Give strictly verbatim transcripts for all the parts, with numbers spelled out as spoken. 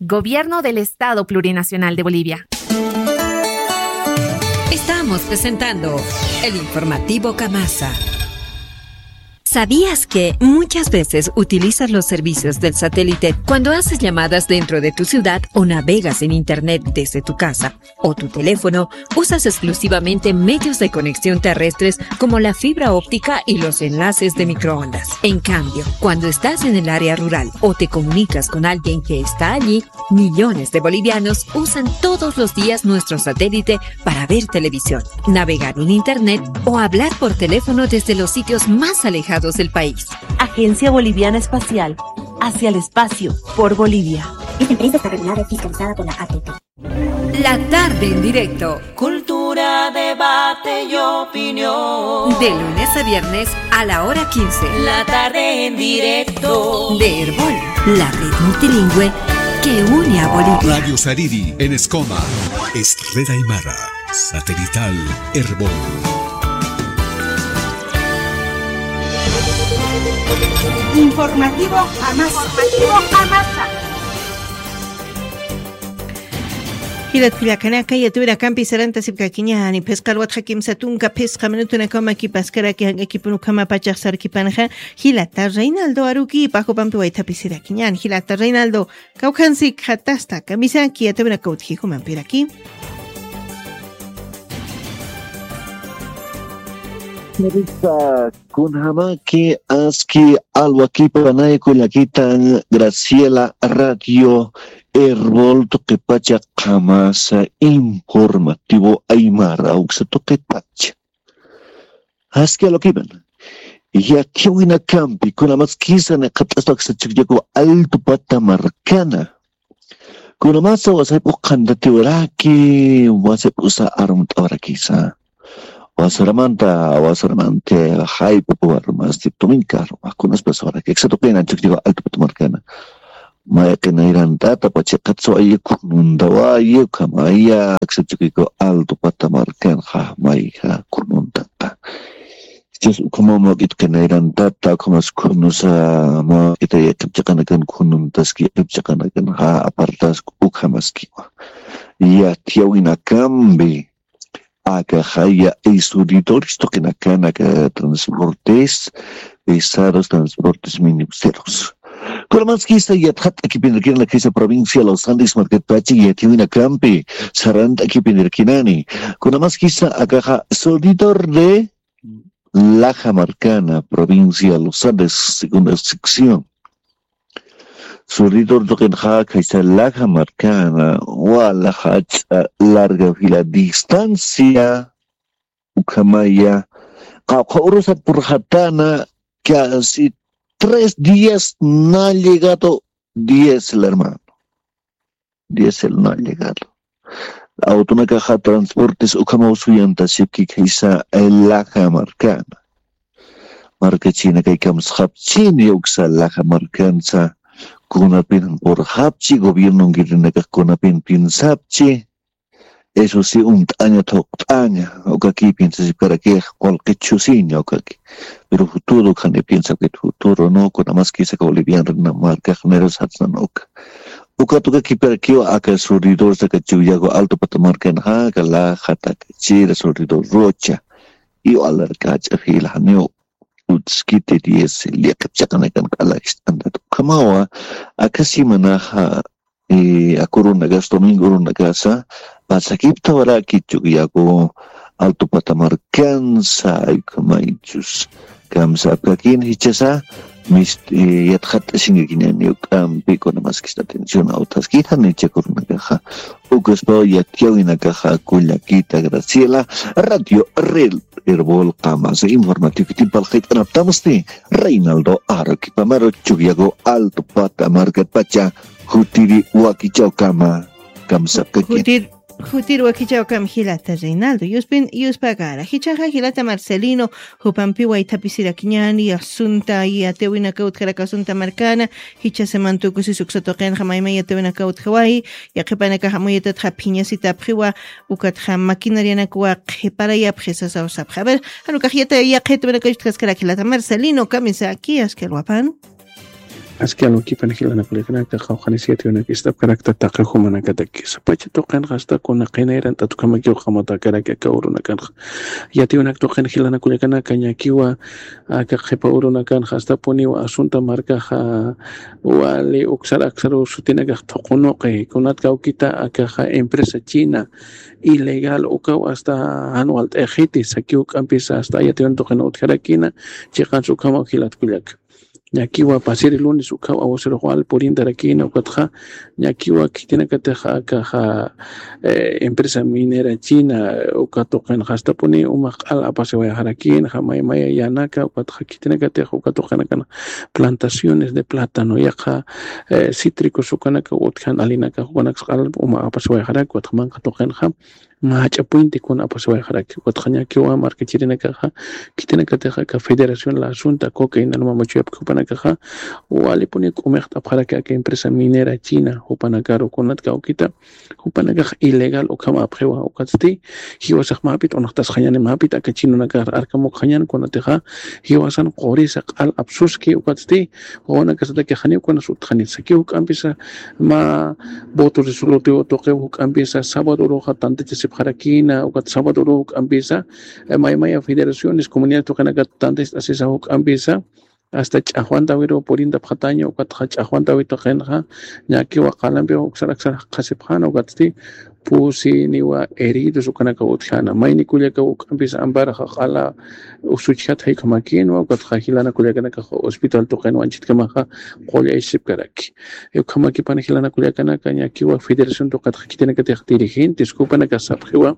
Gobierno del Estado Plurinacional de Bolivia. Estamos presentando el informativo Camasa. ¿Sabías que muchas veces utilizas los servicios del satélite cuando haces llamadas dentro de tu ciudad o navegas en Internet desde tu casa o tu teléfono? Usas exclusivamente medios de conexión terrestres como la fibra óptica y los enlaces de microondas. En cambio, cuando estás en el área rural o te comunicas con alguien que está allí, millones de bolivianos usan todos los días nuestro satélite para ver televisión, navegar en Internet o hablar por teléfono desde los sitios más alejados del país. Agencia Boliviana Espacial, hacia el espacio, por Bolivia. Esta empresa está regulada y fiscalizada por la A T T. La tarde en directo. Cultura, debate y opinión. De lunes a viernes a la hora quince. La tarde en directo. De Erbol, la red multilingüe que une a Bolivia. Radio Sariri en Escoma. Es red aymara. Satelital Erbol. Informativo Jamasa. Informativo Jamasa. Jilat kullakanaka, yatirakampi sarantasipkakiñäni, phisqa alwatxa kimsa tunka phisqa minutunakaw makipaskaraki, jank'akipun ukhama pachax sarkipanxa, jilata Reinaldo Aruquipa jupampi waythapisirakiñäni. Jilata Reinaldo, kawkhansikxatasta, kamisaki, yatirinaka utji jumampiraki. Risa, kunjamaki aski alwakipanay kullakitan Graciela Radio Erbol tuqipacha Qhamasa informativo aymara uksa tuqipacha. Aski alwakipan. Yatiyawinakampi, kunamaskisa niqat'aspa aksa Chukiyaku Alto Pata markana. Kunamasa wasayp'u qhantatiwaraki, wasayp'usa armt'awarakisa. Wasaramanta, wasaramanta, jayp'u warmasti tuminka arma, kunaspas waraki. Aksa tuqina Chukiyaku Alto Pata markana. Mayqi nayrantata pachiqatsa wayi khununtawayi, ukhamaya, aksa Chukiyaku Alto Pata markanxa, mayja khununtata. Chus ukhama mawk'it qinayrantata, ukhamas khunusa mawk'ita yaqhip chiqanakan khununtaski yaqhip chiqanakan ja apartask ukhamaskiwa. Yatiyawinakampi, aka jaya y suridores tuqinakan aka transportes pesados, transportes minibuseros. Kunamaskisa yatxat'akipinirkinani, kisa provincia Los Andes markatpacha yatiyawinakampi sarant'akipinirkinani. Kunamaskisa akaxa suridor de Laja markana, provincia Los Andes, segunda sección. Suridor tuqinxa khaysa Laja markana, wala jach'a larga fila distancia, ukhamaya, qawqha urusat purxatana, casi tres días no ha llegado diésel, hermano. Diésel no ha llegado. Autonakaxa transportes ukhamaw suyantasipki khaysa Laja markana. Markachina kay kamsxapchini uksa Laja markansa, kunapin purxapchi, gobierno ngirinakax kunapin piensapchi. Eso sí, unt'aña, thuqt'aña, ukaki piensasipkarakix, qullqi chusiña ukaki. Pero futuro ukhani piensapkit futuro, no, kunamaskisa aka bolivianrina markaxniru satsnan uka. Ukat ukakipirakiwa aka suridor saka Chuyago Alto Pata markanxa, aka Laja, Tacachira, suridor Rocha. Iwalar kach'a fila janiw utskiti diésel, yaqhip chiqanakan q'ala ist'antat. Ukhamawa, aka semanaxa, eh, aka urunakas, domingo urunakasa, pasakiptawaraki Chuyago Alto Pata markansa, ay ukhamaychus. Kamsapkakin jichhasa, mist-, eh, yatxat'asinkakiñäni juk'ampi, kunamaskista atención utjaskitani jichha aka urunakaxa. Ukaspaw yatiyawinakaxa kullakita Graciela, Radio Rel, Erbol Qamasa, informativo tiempo alqit'anaptamsti, Reinaldo Aroquipamaru, Chuyago Alto Pata markatpacha, jutiri wakichawkama, kamsapkakin. Jutir, jutir wakichawkam jilata Reinaldo. Yuspin, yuspagara. Jichhaxa jilata Marcelino, jupampi waythapisirakiñäni, asunta, yatiyawinaka utjaraki asunta markana, jichha semana tukusis uksa tuqinxa mayma yatiyawinaka utjawayi, yaqhipanakax amuyatatxa phiñasitapxiwa, ukatxa maquinarianakwa qhiparayapxi sasaw sapxi. A ver, jan ukax yatiyawinaka utjaskarak jilata Marcelino, kamisaki, aski alwapan. Aski alwakipan jilanakullakanaka qawqhanis yatiyunak ist'apkarakta taqi jumanakatakisa pacha tuqinxa asta kuna qinayran t'atukhamakiw qamatakaraki aka urunakanxa. Yatiyunak tuqin jilanakullakanaka ñakiwa aka qhipa urunakanxa astapuniwa asunta markaxa wali uksar aksaru sutinakax thuqunuqi kunat kawkita akaxa empresa china ilegal ukaw asta jan walt'ayxiti saki juk'ampisa asta yatiyun tuqin utjarakina. Chiqans ukhamaw jilatkullaka ñakiwa pasiri lunes ukhaw awasirux wal purintarakina ukatxa ñakiwa khitinakatix akaxa empresa minera china uka tuqinxa astapuni umax q'al apasiwayxarakinxa maymaya yanaka ukatxa khitinakatix uka tuqinakan plantaciones de plátano yaqha cítricos ukanaka utjan alinaka ukanaksa q'al uma apasiwayxarak ukatxa manqa tuqinxa mach'a puente kuna apasiwayxaraki ukatxa ñakiwa markachirinakaxa khitinakatix aka federación la asunta coca inalma machuyapki jupanakaxa walipuni k'umixt'apxaraki aka empresa minera china jupanakaru kunat kawkita jupanakax ilegal ukham apxiwa ukatsti jiwasax mapit unaxtasxañani mapit aka chinunakax arkamukxañan kunatixa jiwasan qurisa q'al apsuski ukatsti wawanakasataki janiw kunas utxanit saki juk'ampisa mä voto resolutivo tuqiw juk'ampisa sábado uruxa tantachasipxarakina ukat sábado uru juk'ampisa maymaya federaciones comunidades tuqinakat tantast'asisa juk'ampisa asta ch'axwantawiru purintapxataña ukatxa ch'axwantawi tuqinxa ñakiwa qalampiw uksar aksar qhasipxana ukatsti pusi niwa heridos ukanaka utjana mayni kullaka juk'ampisa amparaxa q'ala usuchjat jaykamakinwa ukatxa jilana kullakanakaxa hospital tuqinwa anchitkamaxa qullaysipkaraki. Ukhamakipana jilana kullakanaka ñakiwa federación tuqatxa khitinakatix dirigentes jupanaka sapxiwa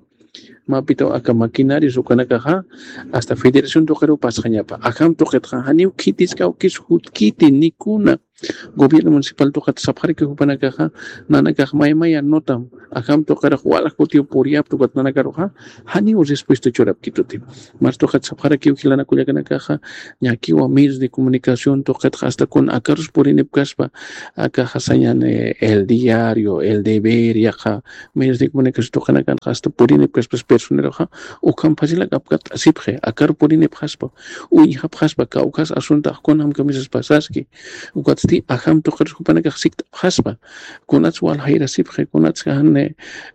mapitaw aka maquinarios ukanakaxa asta federación tuqiru pasxañapa ajam tuqitxa janiw khitiskawkis jutkiti nikuna gobierno municipal tuqat sapxaraki jupanakaxa nanakax maymaya notam ajam tuqirux wala jutiw puriyapta ukat nanakaruxa janiw respuesta churapkituti. Mas tuqat sapxarakiw jilana kullakanakaxa ñakiwa medios de comunicación tuqitxa asta kun akarus purinipkaspa akaxa sañan el diario el deber yaqha medios de comunicación tuqinakanxa asta purinipkaspas personeroxa ukham facilak apkat asipxi akar purinipxaspa uñjapxaspa kawkhas asuntax kunam kamisas pasaski ukatsti ajam tuqirus jupanakax sikt'apxaspa kunats wal jayrasipxi kunats jan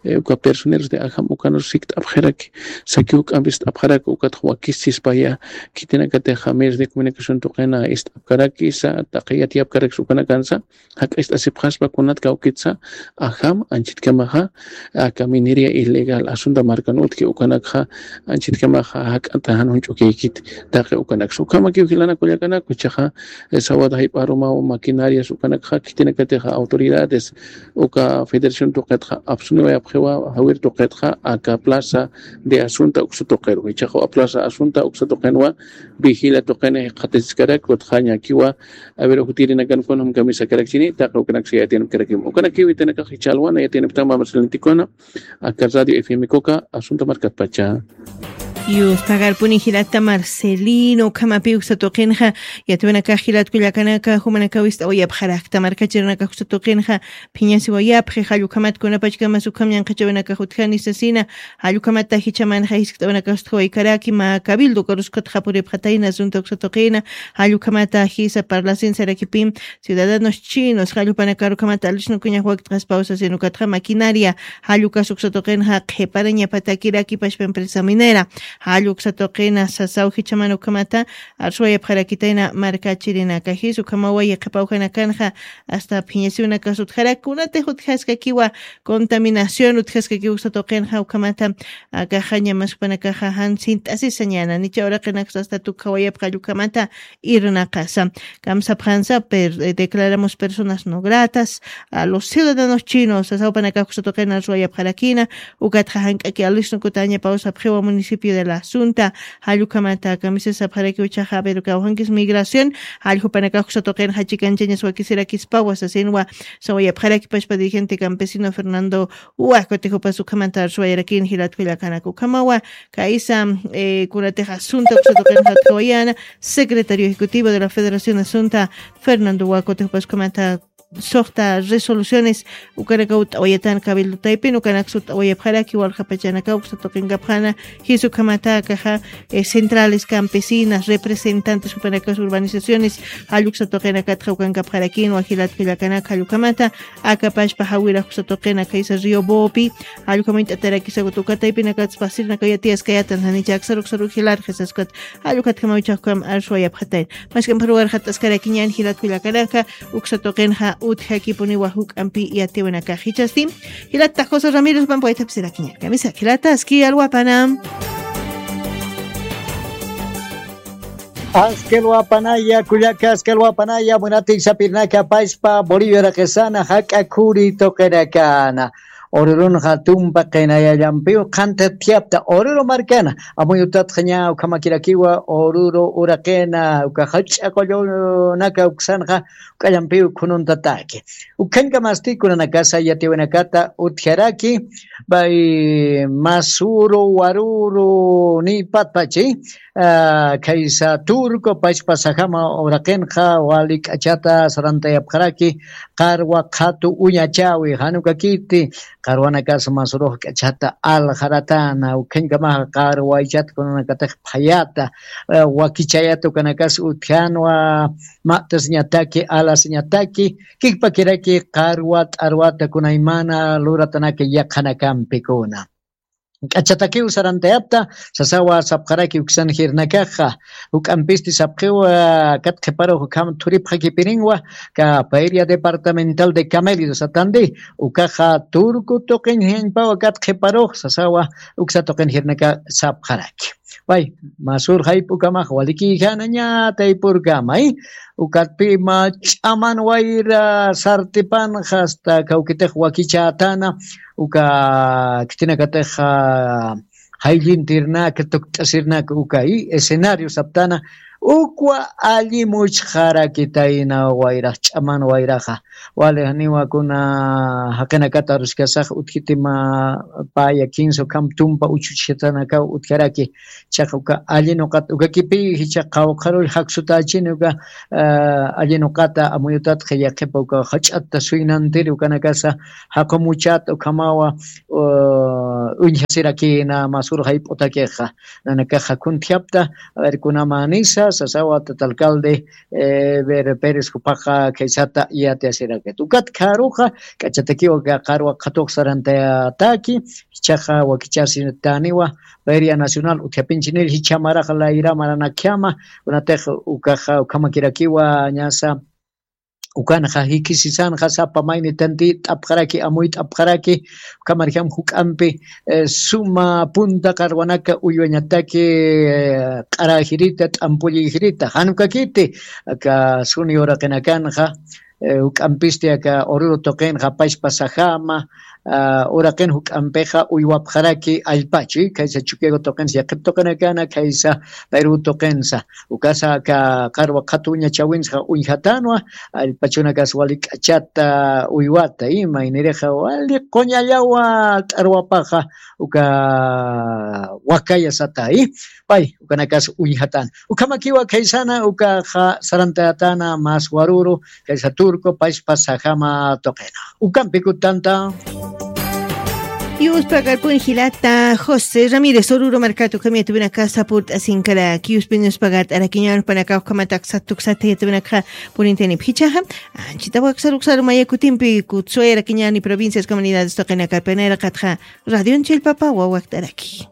uka personeros de ajam ukanus sikt'apxiraki saki juk'ampis t'apxaraki ukatxa wakisispaya khitinakatixa medios de comunicación tuqina ist'apkarakisa taqi yatiyapkarakis ukanakansa jak'acht'asipxaspa kunat kawkitsa ajam anchitkamaxa aka minería ilegal asunta markan utki ukanakxa anchitkamaxa jak'ata jan junch'ukiykit taqi ukanaksa ukhamakiw jilana kullakanak uchaxa sawat jayp'arumaw maquinarias ukanakxa khitinakatixa autoridades uka federación tuqitxa apsuniwayapxiwa jawir tuqitxa aka plaza de asunta uksa tuqiru ichaxa plaza asunta uksa tuqinwa vigila tuqini jikxatasiskarak utxa ñakiwa a ver ujutirinakan kunam kamisakarakchini taqi ukanaksa yatiyanipkarakim ukanakiw itanakax ichalwana yatiniptama marcelintikuna aka radio fm coca asunta markatpacha. Yustagarpuni jilata marcelino ukhamapi uksa tuqinxa yatiwanakax jilatkullakanaka jumanakaw ist'awayapxarakta markachirinakax uksa tuqinxa phiñasiwayapxi jallukhamat kunapachkamas ukham ñanqhachawinakax utjani sasina jallukhamata jichhamanxa jiskt'awanakax utjawaykaraki mä cabildo ukarus ukatxa puripxatayna asunta uksa tuqina jallukhamata jisa parlasin sarakipim ciudadanos chinos jallupanakarukhamata alisnukuñax wakt'aspaw sasin ukatxa maquinaria jallukas uksa tuqinxa qhiparañapatakiraki pashpa empresa minera jallu uksa tuqina sasaw jichhaman ukhamata arsuwayapxarakitayna markachirinaka jis ukhamawa yaqhipawjanakanxa asta phiñasiwinakas utjarak kunatix utjaskakiwa contaminación utjaskakiwa uksa tuqinxa ukhamata akaxaña maspanakaxa jan sint'asisañana nicha uraqinaksa asta tukhawayapxallu ukhamata irnaqasa kamsapxansa declaramos personas no gratas a los ciudadanos chinos sasawpanakax uksa tuqina arsuwayapxarakina ukatxa jank'aki alisnukutañapaw sapxiwa municipio de la asunta jallukhamata kamisisapxaraki uchaxa pero kawjankis migración jalljupanakax uksa tuqinxa chikanchañas wakisirakispawa sasinwa sawayapxaraki pashpa dirigente campesino fernando uwa kutijupas ukhamata arsuwayarakin jilatkullakanak ukhamawa kaysa kunatix asunta uksa tuqinxa utjawayana secretario ejecutivo de la federación asunta fernando uwa kutijupas ukhamata suxta resoluciones ukanakaw t'awayatan cabildo taypin ukanaksa t'awayapxaraki walja pachanakaw uksa tuqinkapxana. Jis ukhamata akaxa centrales campesinas representantes jupanakas urbanizaciones jalluksa tuqinakatxa ukankapxarakinwa jilat kullakanaka jallukhamata. Akapashpa jawira juksa tuqina khaysa río bopi jallukhamint'atarakisakuta ukataypinakatsa pasirnakayatiyaskayatan janicha aksaruksaru jilarxisaskat. Jallukhatkamawchakukam arswayapxatayn. Mask'ampharuwarxat'askarakiñan jilat kullakanaka. Uksa tuqinxa utjakipuniwa juk'ampi yatiwinakax jichasti. Jilata josé ramírez pampawaytapsirakiñan kamisaki jilata aski alwapana. Askelwapanaya kullaka askelwapanaya munatiksapirnaka pashpa boliviaraqisana jak'a khuri tuqirakana. Ururunxa tumpa qinayallampiw qhanthat thiyapta ururu markana. Amuyutatxaña ukhamakirakiwa ururu uraqina uka jach'a qullunaka uksanxa. K'allampiw khununtataki ukhañkamasti kunanakasa yatiwinakata utjaraki. Bay masuru waruru nipatpachi. Khaysa turco pachpasajama uraqinxa wali k'achata sarantayapxaraki. Qarwa qhatu uñachawi janukakiti qarwanakas masurux k'achata aljaratana ukhañkamaxa qarwaychat kunanakatix phayata. Wakichayata ukanakas utjanwa. Ma'tasiñataki alasiñataki kikpakiraki qarwa t'arwata kunaymana luratanaka yaqhanakampikuna. K'achatakiw sarantayapta sasawa sapxaraki uksan jirnakaxa. Juk'ampisti sapxiwa kat qhiparux ukham thuripxakipirinwa ka feria departamental de camello satandi ukaxa turku tuqiñ jiñpawa kat qhiparux sasawa uksa tuqin jirnaka sapxaraki. Way masur jayp'ukamax walikijanaña taypurkamay. Ukatpima ch'aman wayra sartipanxa asta kawkitix wakichätana uka khitinakatix jayllintirnaka tukt'asirnaka uka i escenario saptana. Ukwa alli muchxarakitayna wayrax ch'aman wayraxa. Wali janiwa kuna jaqinakata aruskasax utjitima paya kinsa ukham tumpa uchuchjatanakaw utjaraki. Chaqa uka alli nuqata ukakipi jichha qawqharull jaksutachini uka alli nuqata amuyutatxa yaqhipa uka jach'atta suynantiri ukanakasa jaqumuchata ukhamawa uñjasirakina masur jayp'utakixa. Nanakaxa kuntjapta a ver kunamanisa sasawa tata alcalde. Ver pérez jupaxa khaysata yatiyasirakit ukat kharuxa k'achatakiwa ka qarwa qhatux sarantayataki. Jichhaxa wakichasitaniwa feria nacional utjapinchinil jichha maraxa layra maranakjama. Kunatix ukaxa ukhamakirakiwa ñasa ukanxa jikisisanxa sapa mayni tantit'apxaraki amuyt'apxaraki. Ukhamarjam juk'ampi suma punta qarwanaka uywañataki q'arajirita t'ampulliyjirita janukakiti aka suni uraqinakanxa. Juk'ampisti aka ururu tuqinxa pachpasajama uraqin juk'ampixa uywapxaraki allpachu khaysa chukiagu tuqinsa yaqhip tuqinakana khaysa perú tuqinsa. Ukasa aka qarwa qhatuña chawinsa uñjatanwa allpachunakas wali k'achata uywata ima inirixa wali quñallawa t'arwapaxa uka wakaya sata i pay ukanakas uñjatan. Ukhamakiwa khaysana ukaxa sarantatana mas waruru khaysa turco pachpa sajama tuqina. Ukampikutanta Yuspagarpun jilata josé ramírez ururu markatu ukhamiyatubinakasa purt'asinkaraki yuspin yuspagart'arakiñanpanakaw ukhamataq satuksata yatubinakxa purintanipxichaxa. Anchita waksaruksaru mayakutimpi kutsuwayarakiñani provincias comunidades tuqinakapinayra qatxa radion chillpapawa wakt'araki.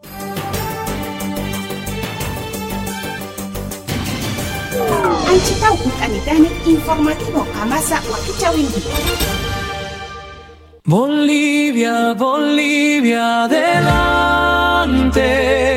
Anchitaw ukanitani informativo amasa wakichawinki. Bolivia, Bolivia, adelante.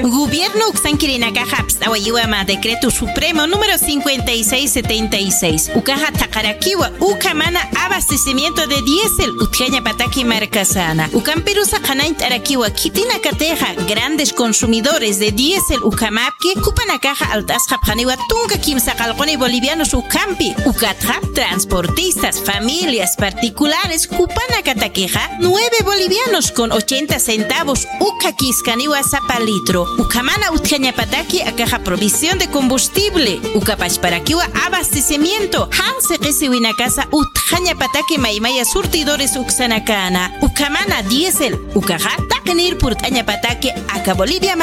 Gobierno uksankirinakaxa apst'awayiwa mä decreto supremo número cincuenta y seis setenta y seis ukaxa thaqarakiwa uka mana abastecimiento de diésel utjañapataki markasana ukampirusa qhanañt'arakiwa khitinakatixa grandes consumidores de diésel ukhamapki jupanakaxa alt'asxapxaniwa tunka kimsa qallquni bolivianos ukhampi ukatxa transportistas familias particulares jupanakatakixa nueve bolivianos con ochenta centavos ukhakiskaniwa sapa litro. Ukhamana utjañapataki aka Aka provisión de combustible, uka pachparakiwa abastecimiento, jan siqisiwinakasa utjañapataki maymaya surtidores uksanakana, ukamana diésel, ukaxa taqinir purt'añapataki aka Bolivia